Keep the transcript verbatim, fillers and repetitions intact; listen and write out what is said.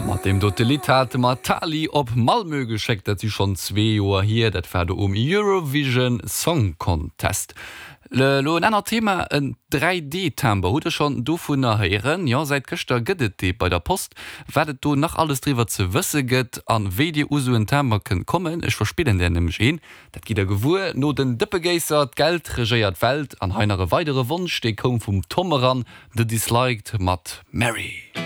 Mat deem dote Lidd hate mer d'Tali op Malmö geschéckt. Dat si schonn zwee Joer hier, dat war do um Eurovision Song Contest. Elo en anert Thema, en dräi D-Timber. Hutt der schonn dovunner héieren? Jo, säit gëschter gëtt et dee bei der Post. Wat et do nach alles driwwer ze wësse gëtt an wéi dir u sou en Timber kënnt kommen, ech verspillen där nämlech een, dat gitt der gewuer no den Dëppegéisser. D'Geld regéiert d'Welt. An hei nach e weidere Wonsch, dee koum vum Tom eran, The Disliked mat Mary.